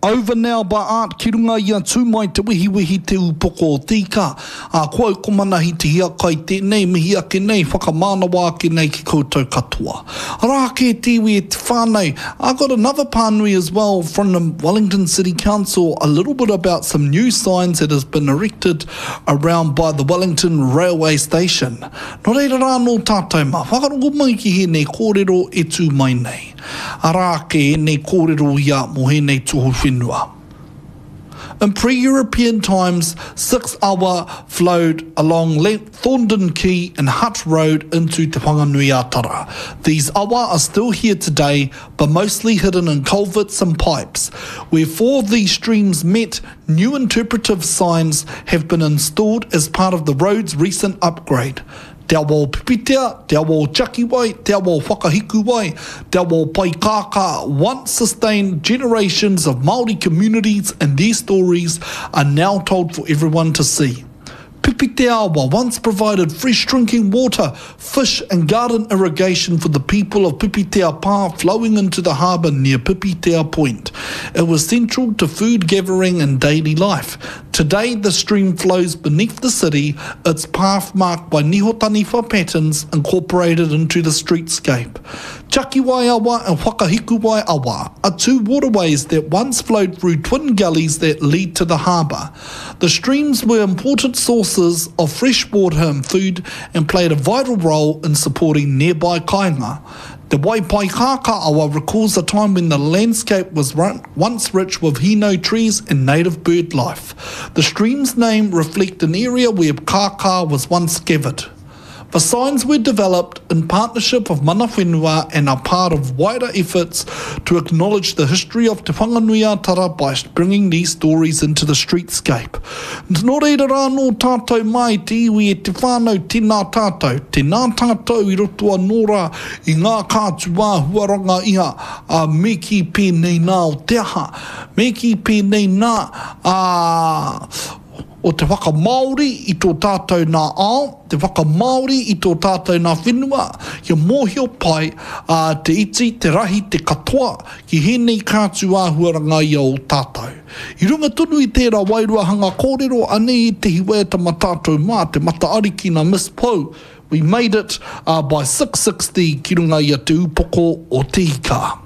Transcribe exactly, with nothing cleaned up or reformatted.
Over Now by Art ki runga i a Tū Mai Te Wehiwehi Te Upoko o Te Ika. Ā, ko au ko Manahi Te Hiakai tēnei, mihi ake nei, whakamānawa ake nei ki koutou katoa. Arā ake te iwi e te whānau. I got another pānui as well from the Wellington City Council, a little bit about some new signs that has been erected around by the Wellington Railway Station. Nō reira rā nō tātou mā, whakarongo mai ki hēnei kōrero e tū mai nei. Arā ake ēnei kōrero ia mō hēnei tohu whenua. In pre-European times, six awa flowed along Thorndon Quay and Hutt Road into Te Whanganui-a-Tara. These awa are still here today, but mostly hidden in culverts and pipes. Where four of these streams met, new interpretive signs have been installed as part of the road's recent upgrade. Te awa o Pipitea, Te awa o Chakiwai, Te awa o Whakahikuwai, Te awa o Paikākā once sustained generations of Māori communities and their stories are now told for everyone to see. Pipitea awa once provided fresh drinking water, fish and garden irrigation for the people of Pipitea Pā flowing into the harbour near Pipitea Point. It was central to food gathering and daily life. Today, the stream flows beneath the city, its path marked by niho taniwha patterns incorporated into the streetscape. Chakiwai awa and Whakahikuwai awa are two waterways that once flowed through twin gullies that lead to the harbour. The streams were important sources of fresh water and food and played a vital role in supporting nearby kāinga. Te Waipaikākā awa recalls a time when the landscape was once rich with hino trees and native bird life. The stream's name reflect an area where kākā was once gathered. The signs were developed in partnership with mana whenua and are part of wider efforts to acknowledge the history of Te Whanganui-a-Tara by bringing these stories into the streetscape. Nō reira rā nō tātou mai te iwi e te whānau, tēnā tātou, tēnā tātou i roto anō rā i ngā kātu āhuaranga ia a me kī pēnei nā o te aha, me kī pēnei nā a o te whakamāori i tō tātou nā ao, te whakamāori i tō tātou nā whenua, kia mōhio pai a te iti, te rahi, te katoa, ki hēnei kātu āhuaranga ia o tātou. I runga tonu i tērā wairua hanga kōrero, anei ētehi waiata mā tātou mā, te mata ariki nā Miss Pou, We Made It uh, by six sixty ki runga i a Te Upoko o Te Ika.